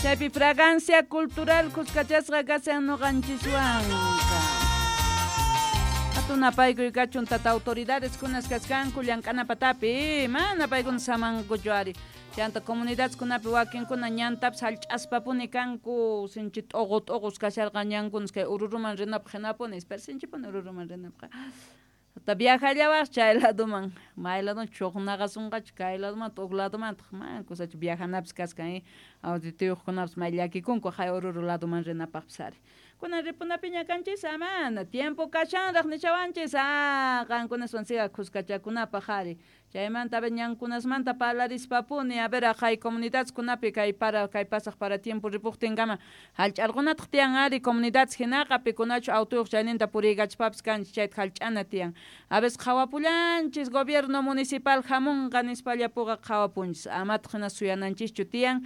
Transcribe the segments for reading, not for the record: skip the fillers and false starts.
Chaypi Fragancia Cultural kuskachasqa kashan ñuqanchiswanqa. Hatun napaykuy kachun tata autoridades kunas kaskanku llank'ana patapi, mana paykuna samankuchu ari. Chanta comunidadkunapi wakinkuna ñantapis hallch'aspapuni kanku, sinchi t'uqu t'uqus kasharqan ñankunas kay Ururuman rinapaq hinapuni, pero sinchipuni Ururuman rinapaq. Hasta viajallawaq chay ladoman, may ladoman chuqnaqasunqachu kay ladomanta huk ladomantaq, mana kusachu viajanapis kaskan, audituyuqkunapas may llakikunku hay Oruro ladoman rinapaqpis ari. Kunan ripunapiña kanchis, mana tiempo kashanraq nishawanchis, qankunaswan siga kuskachakunapaq ari. Chaymanta a ver ñankunasmanta parlarispapuni, a ver aqhay comunidadkunapi kay para kay pasaq para tiempo ripuqtinkama hallch'arqunataq tiyan ari comunidades hinaqa pikunachu autoyuq chayninta puriykachpapis kanchis chayta hallch'ana tiyan. A veces qhawapullanchis gobierno municipal hamunqa nispallapuqa qhawapunchis, amataq hina suyananchischu tiyan,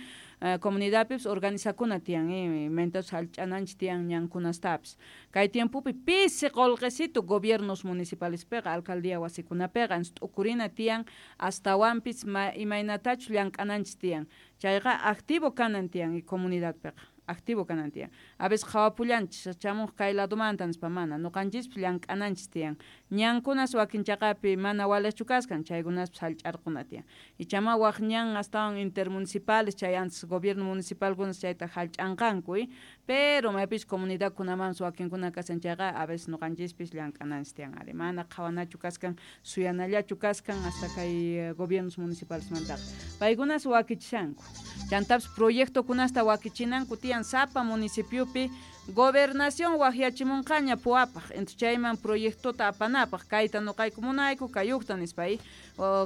comunidadpipis organizakuna tiyan, imaynatachus hallch'ananchis tiyan ñankunastapis. Kay tiempopi pisi qullqisitu gobiernos municipalespiqa alcaldía wasikunapiqa t'ukurina tiyan astawanpis imaynatachus llank'ananchis tiyan. Chayqa activo kanan tiyan y comunidadpiqa activo kanan tiyan. A veces qhawapullanchis chamuq kay ladomanta nispa mana ñuqanchispis llank'ananchis tiyan. Ñankunas wakin chaqapi mana waliqchu kaskan chaykunaspis hallch'arquna tiyan. Ichama waq ñan astawan intermunicipales chay antes gobierno municipalkunas chayta hallch'anqanku, pero maypis comunidadkunamanpis wakinkuna kashan chayqa a veces ñuqanchispis llank'ananchis tiyan ari. Mana qhawanachu kaskan suyanallachu kaskan hasta kay gobiernos municipalesmantaqa. Paykunas wakichishanku. Chantapis proyectokunasta wakichinanku tiyan sapa municipiopi gobernación waqyachimunqaña puwapaq, entonces chayman proyectota apanapaq kayta ñuqayku munayku kayuqta nispa,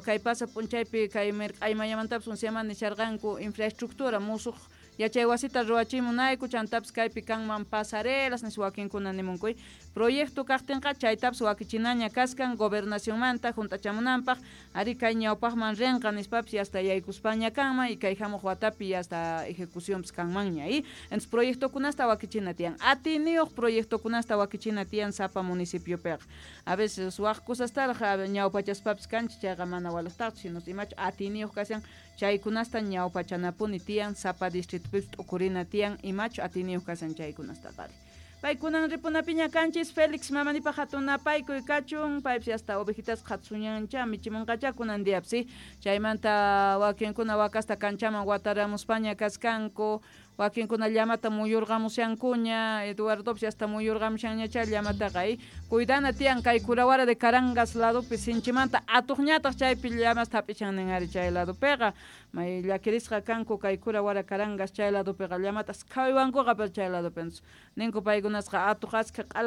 kay pasa p'unchaypi kay mirq'aymayamantapis unsiaman nisharqanku infraestructura musuq yachay wasita ruwachimunayku chantapis kaypi kanman pasarelas nispa wakinkuna nimunku. Proyecto kaqtinqa chaytapis wakichinaña kaskan gobernacionmanta hunt'achamunanpaq ari kay ñawpaqman rinqa nispapis yasta yaykuspaña kanman y kay hamuq watapi yasta ejecucionpis kanmanña, entonces proyectokunasta wakichina tiyan, atiyniyuq proyectokunasta wakichina tiyan sapa municipiopiqa. A veces waq cosastaraq ñawpachaspapis kanchis chayqa mana waliqtaqchu, sino imachu atiyniyuq kashan chaykunasta ñawpachanapuni tiyan sapa distrito t'ukurina tiyan imachu atiyniyuq kashan chaykunastaqa ari. Paykunan ripunapiña kanchis Félix mamanipaq hatun napaykuy kachun, paypis hasta ovejitas qhatuñancha michimunqacha kunan diapis, chaymanta wakinkuna wakasta kanchaman wataramuspaña kaskanku, wakinkuna llamata muyurqamushankuña, Eduardopis hasta muyurqamushanñacha llamataqa, cuidana tiyan kay Curawara de Carangas ladopi sinchimanta atuqñataq chaypi llamasta hap'ichan nin ari chay ladopiqa, may llakirisqa kanku kay Curawara Carangas chay ladopiqa llamatas qhawaywankuqa pero chay ladopi ninku paykunasqa atuq askha q'ala.